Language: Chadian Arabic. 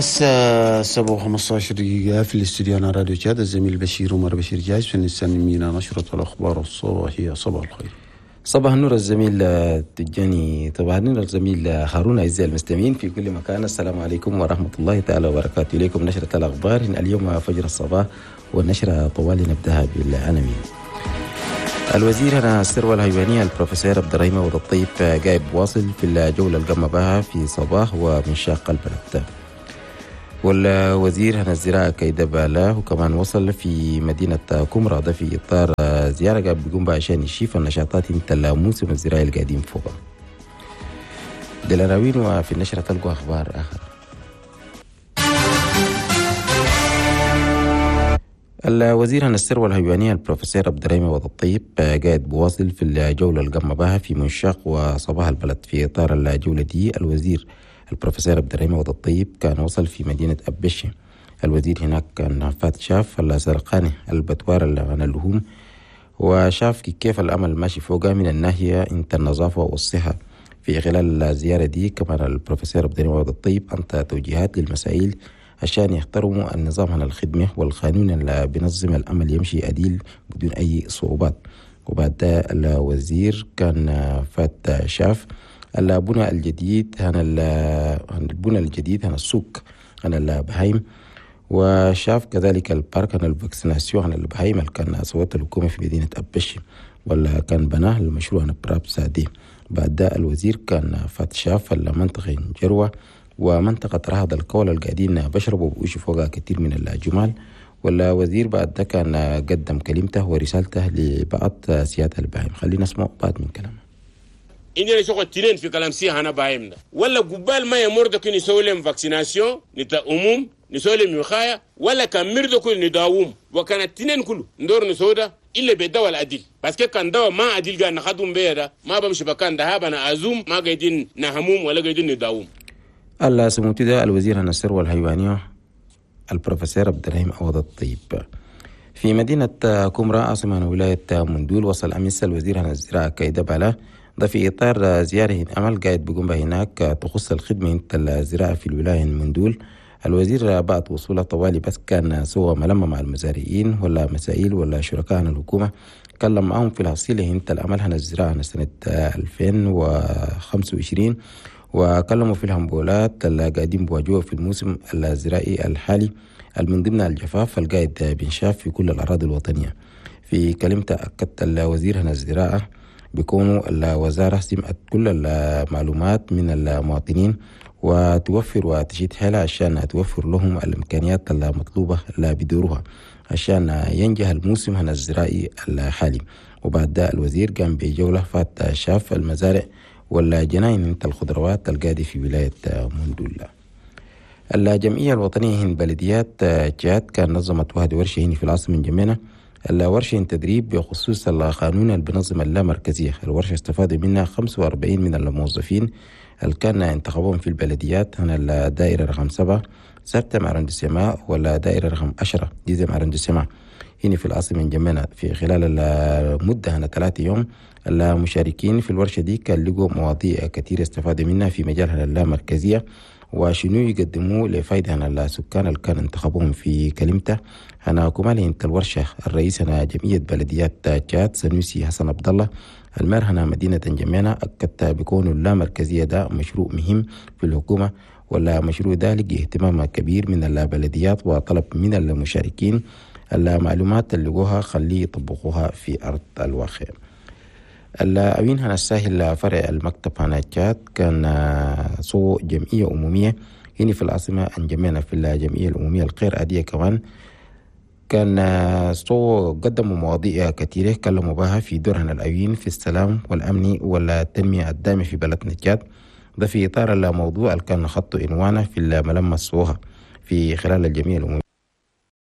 الساعة 7:15 في الاستوديو على راديو تشاد، الزميل بشير عمر بشير جاهز فنستلم نشرة الأخبار الصباحية. صباح الخير. صباح النور الزميل تجاني، صباح النور الزميل هارون. أعزائي المستمعين في كل مكان، السلام عليكم ورحمة الله تعالى وبركاته. إليكم نشرة الأخبار اليوم فجر الصباح، والنشرة طوال نبدأها بالعناوين. الوزير هنا الثروة الحيوانية البروفيسور عبد الرحيم عوض الطيب جايب واصل في الجولة القمة بها في صباح ومنشاق البلد. والوزير هنا الزراعة كيدا بالا وكمان وصل في مدينة كمرة، ده في إطار زيارة قاعد بيقوم بها عشان يشوف النشاطات انت الموسم الزراعي القادم فوق. دلراوين وفي النشرة تلقوا أخبار آخر. الوزير هنا الثروة الحيوانية البروفيسور عبد الرحيم عوض الطيب قاعد بواصل في الجولة القمة بها في منشاق وصباح البلد. في إطار الجولة دي الوزير البروفيسور عبد الرحيم عوض الطيب كان وصل في مدينة أبشي. الوزير هناك كان فات شاف السرقاني البتوار عن اللحوم، وشاف كيف الأمل ماشي فوقه من الناحية انت النظافة والصحة. في خلال الزيارة دي كمان البروفيسور عبد الرحيم عوض الطيب أنت توجيهات للمسائل عشان يحترموا النظام على الخدمة والقانون اللي بينظم الأمل يمشي أديل بدون أي صعوبات. وبعد الوزير كان فات شاف البنى الجديد هنا البنى الجديد هنا السوق هنا البهايم، وشاف كذلك ال parc هنا ال vaccination هنا البهايم اللي كان سوت الحكومة في مدينة أبشي ولا كان بناه المشروع هنا براب سادي. بعد الوزير كان فات شاف المنطقة جروة ومنطقة رهض الكول القاعدين بشربوا بوشي فوقها كثير من الجمال. ولا وزير بعد ده كان قدم كلمته ورسالته لبعض سيادة البهايم. خلينا نسمع بعض من كلامه. عندنا شغل تنين في كلام سي هنا باهيم ده ولا قبال ما يمر ده كن يسوي لهم vaccination نتا أموم نسوي لهم وقاية، ولا كان مر ده كل نداوم، وكان التنين كله ندور نسوده إلا بالدواء العديل. بس كان دواء ما عديل قاعد نخدم بيه ده ما بمشي بكان ده أنا أزوم ما قاعدين نهموم ولا قاعدين نداوم. السموتي ده الوزير هنا الثروة الحيوانية البروفيسور عبد الرحيم عوض الطيب. في مدينة كمرة عاصمة ولاية مندول وصل أمس الوزير هنا الزراعة كيدا بالا، ده في إطار زيارة أمل قاعد بيقوم بها هناك تخص الخدمة الزراعة في الولاية مندول. الوزير بعد وصوله طوالي بس كان سوى ملمة مع المزارعين ولا مسائل ولا شركاء الحكومة، تكلم معهم في الحصيلة انت الأمل هنا الزراعة سنة 2025، وكلموا في الهمبولات اللي قاعدين بواجهوها في الموسم الزراعي الحالي من ضمن الجفاف القاعد بنشاف في كل الأراضي الوطنية. في كلمته أكدت الوزير هنا الزراعة بيكونوا الوزارة سمعت كل المعلومات من المواطنين وتوفر وتشيد حالها عشان توفر لهم الإمكانيات المطلوبة اللي بيدوروها عشان ينجح الموسم هنا الزراعي الحالي. وبعد ده الوزير قام بجولة فات شاف المزارع ولا جناين انت الخضروات القادي في ولاية مندولا. الجمعية الوطنية هن بلديات جات كان نظمت واحد ورشة هنا في العاصمة جمينة. الورشة تدريب بخصوص القانون اللي بنظم اللامركزية. الورشة استفاد منها 45 من الموظفين اللي كان انتخبوهم في البلديات هنا الدائرة رقم 7 septième arrondissement ولا دائرة رقم 10 dixième arrondissement هنا في العاصمة جمينة. في خلال المدة هنا 3 يوم المشاركين في الورشة دي كان لقوا مواضيع كثيرة استفادوا منها في مجال اللامركزية وشنو يقدموا لفايدة هنا السكان اللي كان انتخبوهم. في كلمته هنا كمال انت الورشة الرئيس هنا جمعية بلديات تشاد سنوسي حسن عبد الله المير هنا مدينة جمينة أكدت بكون اللامركزية ده مشروع مهم في الحكومة، ولا مشروع ده لقي اهتمام كبير من البلديات وطلب من المشاركين المعلومات اللي لقوها خليه يطبقوها في أرض الواقع. الأوين هنا الساهل فرع المكتب هنا تشاد كان سو جمعية أمومية هنا في العاصمة انجمينا. في الجمعية الأمومية الغير عادية كمان كان سو قدموا مواضيع كثيرة كلموا بها في دور هنا الأوين في السلام والأمن والتنمية الدائمة في بلدنا تشاد. ده في إطار الموضوع اللي كان خط عنوانه في الملمس سوها في خلال الجمعية الأمومية.